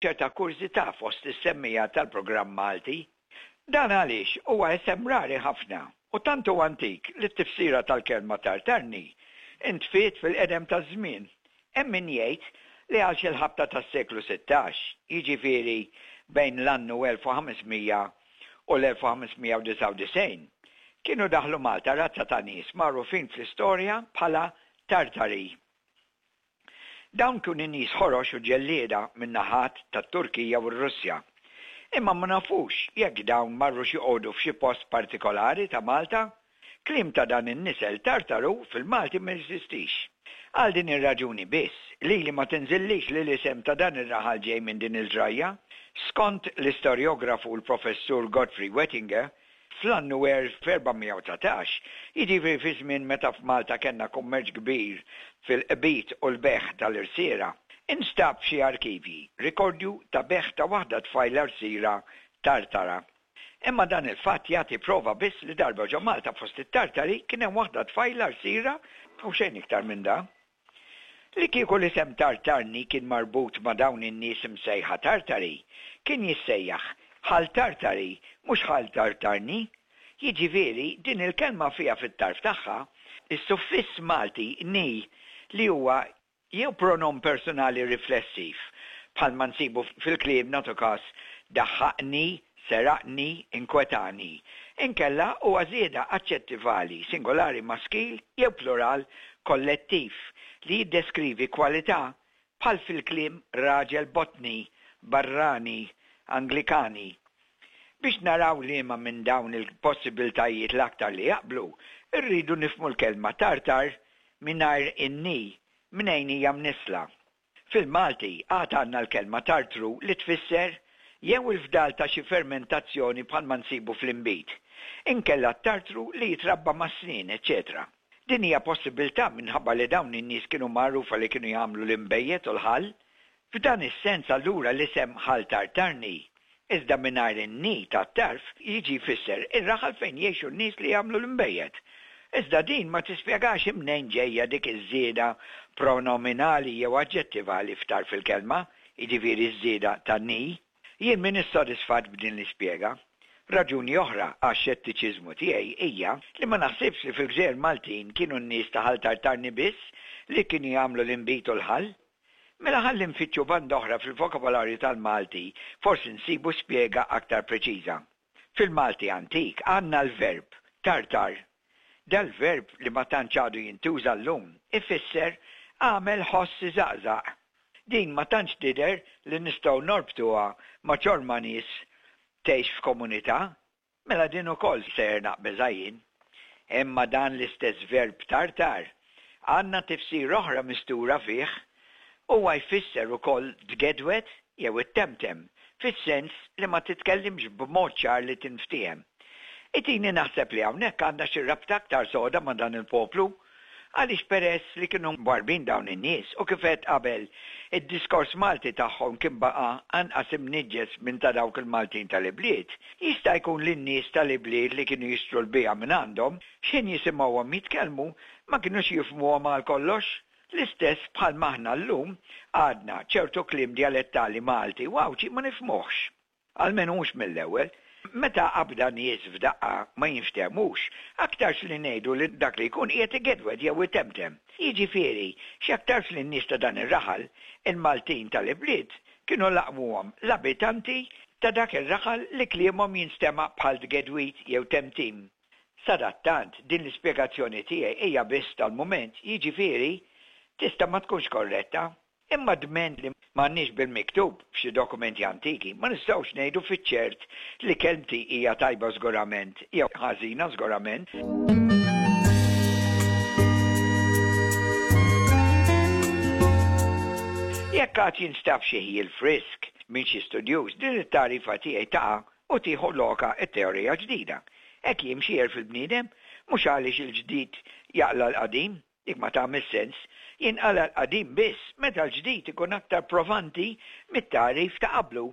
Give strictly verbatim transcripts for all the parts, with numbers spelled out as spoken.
ċerta kurżità fost is-semmiegħa tal-programm Malti. Dan għaliex huwa isem rari ħafna u tant huwa antik li t-tifsira tal-kelma Tartarni intfiet fil-qedem taż-żmien. Hemm min jgħid li għal xi l-ħabta tas-seklu sittax, jiġifieri bejn l-annu elf u ħames mija u l-elf u ħames mija u disgħa u disgħin, kienu daħlu Malta razza ta' nies magħrufin fl-istorja bħala Tartari. Dawn kienu nies ħorox u ġellieda min-naħat tat-Turkija u r-Russja. Imma ma nafux jekk dawn marrux joqogħdu f'xi post partikolari ta' Malta. Kliem ta' dan in-nisel Tartaru fil-Malti ma jeżistix. Għal din ir-raġuni biss, lili ma tinżillix li l-isem ta' dan ir-raħal ġej minn din il-ġrajja. Skont l-istorjografu l-Professur Godfrey Wettinger, fl-annu elf erba' mija u dsatax, jiġifieri fi żmien meta f'Malta kellna kummerċ kbir fil-qbid u l-bejgħ tal-irsiera, instab f'xi arkivji rikordju ta' bejgħ ta' waħda tfajla rsira Tartara. Imma dan il-fatt jagħti prova biss li darba ġo Malta fost it-Tartari kien hemm waħda tfajla rsira u xejn iktar minn da. Li kieku l-isem Tartarni kien marbut ma' dawn in-nies imsejħa Tartari, kien jissejjaħ Ħal Tartari, mhux Ħal Tartarni. Jiġifieri din il-kelma fiha fit-tarf tagħha is-suffiss Malti ni li huwa jew pronom personali riflessiv, bħalma nsibu fil-kliem nagħtu każ daħħaqni, seraqni, inkwetani. Inkella huwa żieda aġġettivali singolari maskil jew plural kollettiv li jiddeskrivi kwalità bħal fil-kliem raġel botni, barrani, Anglikani. Biex naraw liema minn dawn il-possibiltajiet l-aktar li jaqblu, irridu nifhmu l-kelma Tartar mingħajr in-ni mnejn hija mnissla. Fil-Malti għad għandna l-kelma tartru li tfisser jew il-fdal ta' xi fermentazzjoni bħalma nsibu fl-inbid, inkella t-tartru li jitrabba mas-snien, eċċetera. Din hija possibilità minħabba li dawn in-nies kienu magħrufa li kienu jagħmlu l-inbejjed u l-ħall. F'dan is-sens allura l-isem Ħal Tartarni, iżda mingħajr in-ni tat-tarf, jiġi jfisser ir-raħal fejn jgħixu n-nies li jagħmlu l-inbejjed. Iżda din ma tispjegax imnejn ġejja dik iż-żieda pronominali jew aġġettivali f'tarf il-kelma, jiġifieri ż-żieda ta' ni. Jien m'iniex sodisfatt b'din l-ispjega. Raġuni oħra għax-xettiċiżmu tiegħi hija li ma naħsibx li fil-gżejjer Maltin kienu n-nies ta' Ħal Tartarni biss li kienu jagħmlu l-inbid u l-ħall. Mela ħalli nfittxu banda oħra fil-vokabolarju tal-Malti, forsi nsibu spjega aktar preċiża. Fil-Malti antik għandna l-verb tartar. Dal-verb li ma tantx għadu jintuża llum ifisser għamel ħoss iżaqżaq. Din ma tantx tidher li nistgħu norbtuha ma' ċorma nies tgħix f'komunità, mela din ukoll sejjer naqbeżha jien. Imma dan l-istess verb tartar għandna tifsir oħra mistura fih. Huwa jfisser ukoll tgedwed jew ittemtem, fis-sens li ma titkellimx b'mod ċar li tinftiehem. Itini naħseb li hawnhekk għandna xi rabta aktar soda ma' dan il-poplu, għaliex peress li kienu mwarbin dawn in-nies u kif għedt qabel id-diskors Malti tagħhom kien baqa' anqas imniġġes minn ta' dawk il-Maltin tal-ibliet, jista' jkun li n-nies tal-ibliet li kienu jixtru l-biegħa minn għandhom, x'ħin jisimgħuhom jitkellmu ma kinux jifhmuhom għal kollox. L-istess bħal maħna llum għadna ċertu kliem djalettali Malti u Għawdxi ma nifhmuhx. Almenu mhux mill-ewwel. Meta qabda nies f'daqqa ma jinftehmux, aktarx li ngħidu li dak li jkun qiegħed igedwed jew itemtem. Jiġifieri, x'aktarx li n-nies ta' dan ir-raħal, il-Maltin tal-ibliet, kienu laqmuhom l-abitanti ta' dak ir-raħal li kliemhom jinstema' bħal tgedwid jew temtim. Sadattant, din l-ispjegazzjoni tiegħi hija biss tal-mument, jiġifieri tista' ma tkunx korretta. Imma dment li m'għandniex bil-miktub f'xi dokumenti antiki, ma nistgħux ngħidu fiċ-ċert li kelmti hija tajba żgurament jew ħażina żgurament. Jekk għad jinstab xi ħjiel frisk minn xi studjuż, din it-tagħrifa tiegħi taqa' u tieħu loka t-teorija ġdida. Hekk jimxi għerf il-bniedem, mhux għaliex il-ġdid jaqla' l-qadim, dik ma tagħmel sens, jinqala' l-qadim biss meta l-ġdid ikun aktar provanti mit-tagħrif ta' qablu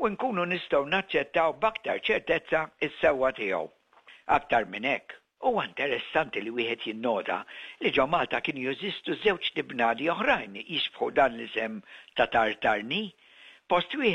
u nkunu nistgħu naċċettaw b'aktar ċertezza s-sewwa tiegħu. Aktar minn hekk, huwa interessanti li wieħed jinnota li ġo Malta kienu jeżistu żewġ tibnadi oħrajn jixbħu dan l-isem ta' Tartarni. Post wieħed